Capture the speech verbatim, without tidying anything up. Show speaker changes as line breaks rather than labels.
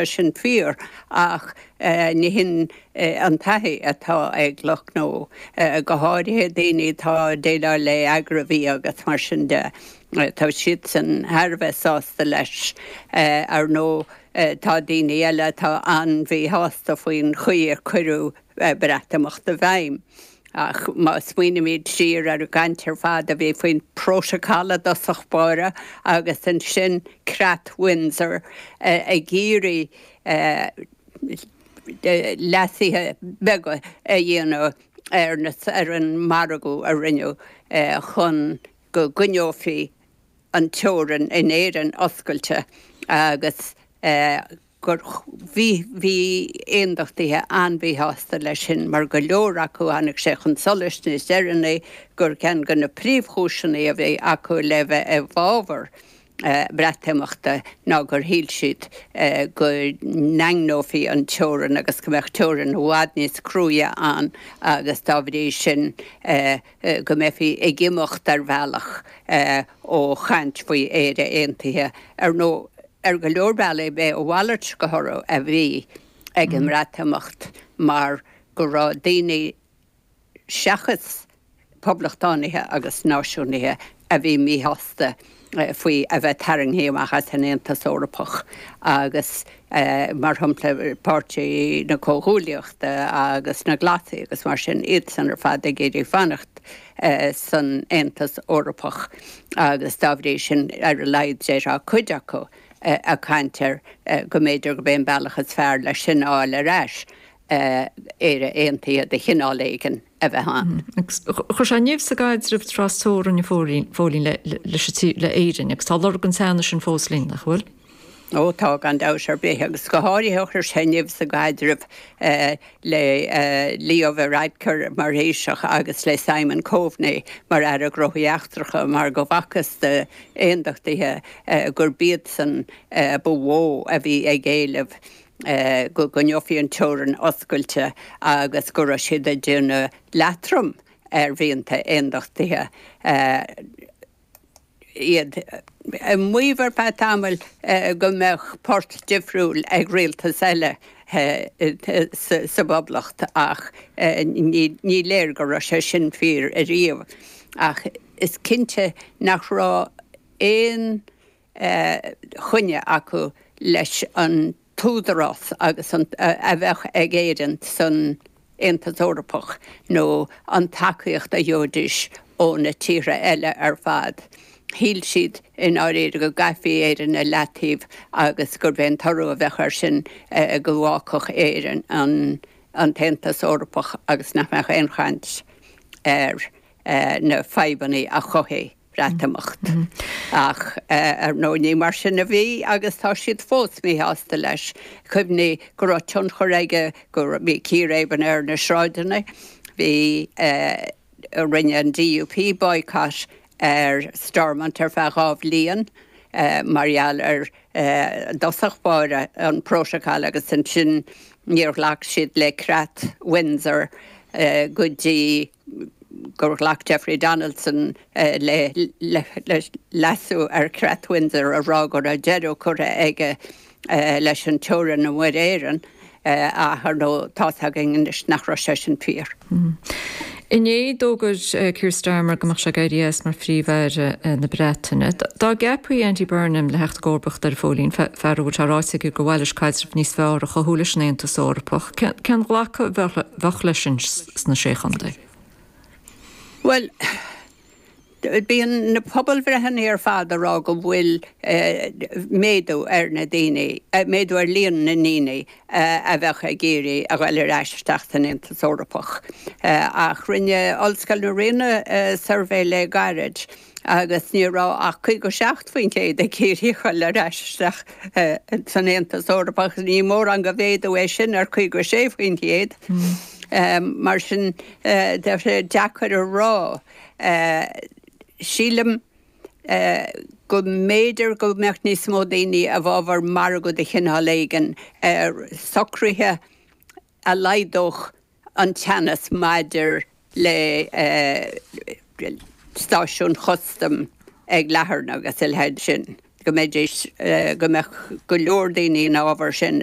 Sin fíor, ach ní hin an taithí atá ag lucht gnó, go háirithe daoine atá ag déileáil le agraibhia agus mar sin de. Tá siadsan thar a bheith sásta leis. Ar ndóigh, tá daoine eile atá an-mhíshásta faoin chaoi ar cuireadh Breatimeacht i bhfeidhm. Ach má smaoinímid siar ar an gcaint ar fad a bhí faoin bprótacal i dtosach báire agus ansin Creat Windsor ag iarraidh leasuithe beaga a dhéanamh ar ar an margadh a rinneadh chun go gcoinneofaí an teorainn in Éirinn oscailte agus gur bhí bhí aondachtaithe an-mhíshásta leis sin, mar go leor acu, tháinig sé chun solais níos deireanaí gur ceann de na príomhchúiseanna a bhí acu le bheith i bhfabhar Breatimeachta ná gur shíl siad go ndaingneofaí an teorainn agus go mbeadh teorainn i bhfad níos cruaidhe ann agus dá bhrí sin go mbeifí ag imeacht ar bhealach ó chaint faoi Éire Aontaithe. Ar ndóigh, ar go leor bealaí b'é a mhalairt de thoradh a bhí ag an mBreatimeacht mar go raibh daoine seachas poblachtánaithe agus náisiúnaithe a bhí míshásta faoi a bheith tarraingthe amach as an Aontas Eorpach agus, mar shampla, Páirtí na Comhghuaillíochta agus na Glasaigh agus mar sin, iadsan ar fad ag iarraidh fanacht san Aontas Eorpach agus dá bhrí sin, ar a laghad déarfá cuid acu ag caint ar go mb'fhéidir gurb é an bealach is fearr leis sin a fháil ar ais, Éire Aontaithe de chineál éigin a bheith ann.
Agus chuir sé nimh sa gcaidreamh trasteorann, a Phóilín, le Éirinn agus tá lorg an teannais sin fós linn, nach bhfuil?
Ó tá, gan dabht ar bith, agus go háirithe chuir sé nimh sa gcaidreamh le Leo Varadkar mar Thaoiseach agus le Simon Coveney mar Aire Gnóthaí Eachtracha mar go bhfacthas d'aondachtaithe gurb iadsan ba mhó a bhí ag éileamh go gcoinneofaí an teorainn oscailte agus go raibh siad ag déanamh leatrom ar mhianta aondachtaithe, iad ag maíomh ar feadh tamaill go mbeadh port difriúil ag rialtas eile sa bPoblacht ach ní léir go raibh sé sin fíor ariamh. Ach is cinnte nach raibh aon choinne acu leis an t-údarás agus an a bheadh ag Éirinn san Aontas Eorpach nó an tacaíocht a gheobhaidís ó na tíortha eile ar fad. Shíl siad i ndáiríre go gcaithfí Éirinn i leataobh agus gurb é an toradh a bheadh air sin go bhfágfadh Éirinn an an tAontas Eorpach agus nach mbeadh aon chaint ar na fadhbanna a chothaigh Breatimeacht. Ach ar ndóigh ní mar sin a bhí agus tá siad fós míshásta leis. Cuimhnigh go raibh tionchar aige go bhí círéibeanna ar na sráideanna, bhí, rinne an D U P boycott ar Stormont ar feadh dhá bhliain mar gheall ar i dtosach báire an prótacal agus ansin níor ghlac siad le Creat Windsor go dtí gur ghlac Jeffrey Donaldson le leasú ar Chreat Windsor a rá go raibh deireadh curtha aige leis an teorainn i Muir Éireann, ach ar ndóigh tá's againn anois nach raibh sé sin fíor.
Inné d'fhógair Keir Starmer go mbeadh sé ag éirí as mar Phríomh-Aire na Breataine. Dá gceapfaí Andy Burnham le theacht i gcomharbacht air, a Phóilín, fear a bhfuil sé ráite aige gur mhaith leis caidreamh níos fearr a chothú leis an Aontas Eorpach, cén glacadh a bheadh leis sin sna Sé Chontae?
Bhuel, bíonn na pobalbhreitheanna ar fad ag rá go bhfuil méadú ar na daoine, méadú ar líon na ndaoine a bheadh ag iarraidh a ghoil ar ais isteach san Aontas Eorpach. Ach rinne Ollscoil na Ríona suirbhé le gairid agus ní raibh ach caoga seacht faoin gcéad ag iarraidh a ghoil ar ais isteach san Aontas Eorpach. Ní mórán de mhéadú é sin ar caoga sé faoin gcéad. Mar sin, tá sé deacair a rá. Sílim go mb'fhéidir go mbeadh níos mó daoine i bhfabhar margadh de chineál éigin ar socruithe a laghdódh an teannas maidir le stáisiúin chustaim ag Latharna agus a leithéid sin. go mbeidís go mbeadh go leor daoine ina ábhar sin.